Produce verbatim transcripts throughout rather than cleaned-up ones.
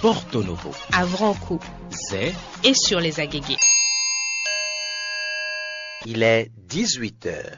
Porto Novo, à Vranco Zé, et sur les Agégués. Il est dix-huit heures.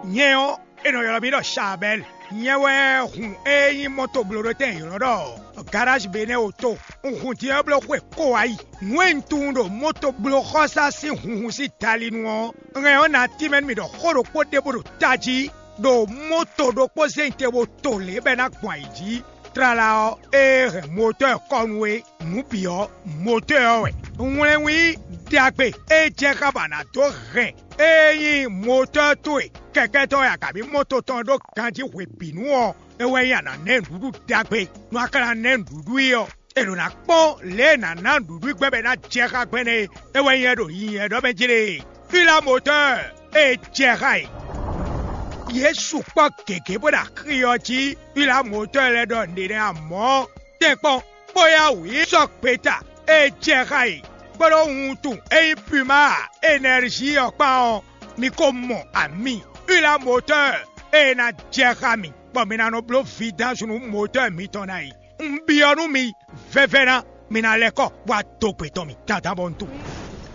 Nyɛ ɔ́, è nɔ ylɔ́ mì ɖɔ Shabɛl. Nyɛ wɛ hun e nyí mɔtoblóɖótɛn e ylɔ́ ɖɔ Garage Benin Auto. Un hun din ɔ́ bló xwe kó wá yi. Nǔ e un tunwun ɖo motoblóxɔsá sín hunhun sín dalinu ɔ́, hɛn ɔ́ ná tínmɛ nú mì ɖɔ xó ɖokpó ɖěbǔ ɖo tají ɖo moto ɖokpó zɛ́n te bó to lě bɔ é ná gbɔn ayǐ jí. Tlala ɔ́, ée hɛn motɔ́ ɛ kɔ nu é, nǔ bǐ ɔ́, motɔ́ ɔ́ wɛ. Wlɛnwí ɖagbe e jɛ xá bɔ a nǎ dó hɛn ée nyí motɔ́ towe kɛkɛ́tɔ́ wɛ a kabǐ mɔto tɔn ɖó ganjí hwebǐnu ɔ́, é wɛ nyí a nǎ ná ɛ nǔɖuɖu ɖagbe. Nú a ka ná ná ɛ nǔɖuɖu i ɔ́, è ɖǒ ná kpɔ́n lě e è nǎ ná nǔɖuɖu i gbɛn bɔ é ná jɛ xá gbɛn é, é wɛ nyí ɛ ɖo nyinyi ɛ ɖɔ mɛ jlé. Pilamotɔ́ɔ e jɛ xá e. Yě sukpɔ́ gěgé bó ɖo axi ɔ́ jí. Pilamotɔ́ɔ lɛ́ɛ ɖɔ nǔɖé nɛ́ amɔ̌. Tɛ́nkpɔ́n, bóyá wǔ yi sɔ́ gbeta e jɛ xá e, kpódó wuntun e nyí Puma Enɛrzi ɔ́ kpán ɔ́, mi ko mɔ ami Pilamotɔ́ɔ e ná jɛ xá mi, bɔ mi ná nɔ bló vidansu nú motɔ́ɔ mitɔn ná yi. Un byɔ́ nú mi vɛvɛ́ ná, mi ná lɛ́ kɔ wá dó gbe tɔn mì dandan bɔ un tunwun.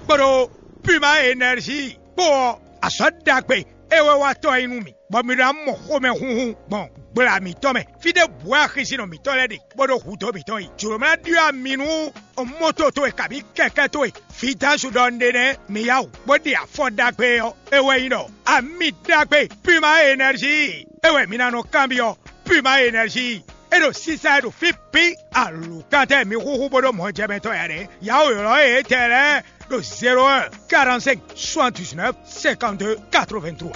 Kpódó Puma Enɛrzi kpó ɔ́, azɔ̌ ɖagbe e wɛ wa tɔ́ ɔ́ nyí nú mì, bɔ mi ɖo ná mɔ xomɛhunhun gbɔn gbla mǐtɔn mɛ. Fí ɖěbǔ wɛ axisinɔ mǐtɔn lɛ́ɛ ɖe, bó ɖo hudó mǐtɔn yi. Jǒló ná ɖyɔ́ ami nú moto towe kabǐ kɛkɛ́ towe. Vidansu ɖɔ un ɖe nɛ́, mi yá wǔ bó ɖe afɔ ɖagbe ɔ́, é wɛ nyí ɖɔ ami ɖagbe Puma Enɛrzi é wɛ mi ná nɔ kanbyɔ́. Puma Enɛrzi é ɖo sísá e ɖo fí bǐ alǒkantɛ mi xúxú bó ɖó mɔjɛmɛtɔ́ ya ɖe. Yǎ wǒ ylɔ́ yětɛn lɛ́ɛ ɖo zéro un quarante-cinq soixante-dix-neuf cinquante-deux quatre-vingt-trois.